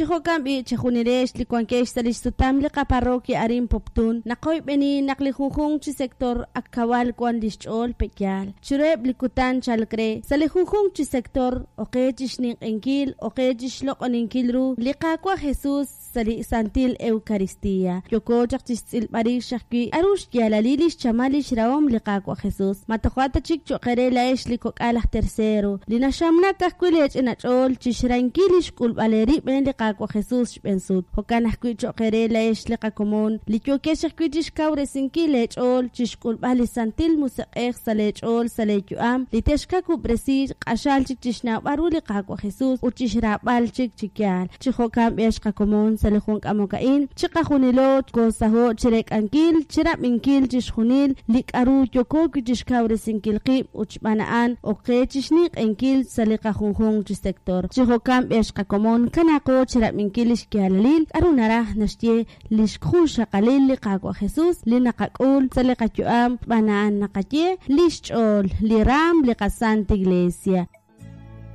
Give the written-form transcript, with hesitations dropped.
Chi jo'kan b'i', chejunilex li wankex sa' li xsutam li qaparroquia arin Poptún, naqoyb'eni naq li junjunq chi sector ak kawal wan li xch'ool pe'yaal. Chiruheb' li kutan chalk re, sa' li junjunq chi sector, oqe chi xninq'ehinkil, oqe chi xloq'oninkil ru li Qaawa' Jesús sa' li Santil Eucaristía. Yooko chaq chi xtz'ilb'al rix ajwi' k'aru xyaalalil li xchamal li xrahom li Qaawa' Jesús. Ma toja' ta chik cho'q eere laa'ex li kok'al aj tercero, li naxamnak ajwi' leech'ina ch'ool chi xrahinkil li xk'ulb'al eerib' rik'in li Qaawa' Jesús xb'een sut. Jo'kan ajwi' cho'q eere laa'ex li qakomon, li yookex ajwi' chi xkawresinkil leech'ool chi xk'ulb'al li Santil Musiq'ej sa' leech'ool sa' leeyu'am, li texkawub'resi q'axal chik chi xnawb'al ru li Qaawa' Jesús ut chi xraab'al chik chi yaal. Chi jo'kan b'i' ex qakomon sa' li jun k'amok a'in, chiqajunilo koosaho' chireek'ankil, chirab'inkil chixjunil li k'aru yooko wi' chixkawresinkil qib' ut xb'aan a'an ok qe chixninq'ehinkil sa' li qajunjunq chi sector. Chi jo'kan b'i' ex qakomon, kanaaqo chirab'inkil lix yaalalil k'aru naraj naxye lix junxaqalil li Qaawa' Jesús li naqak'ul sa' li qayu'am xb'aan a'an naqaye lix ch'ool, li raam li qaSanta Iglesia.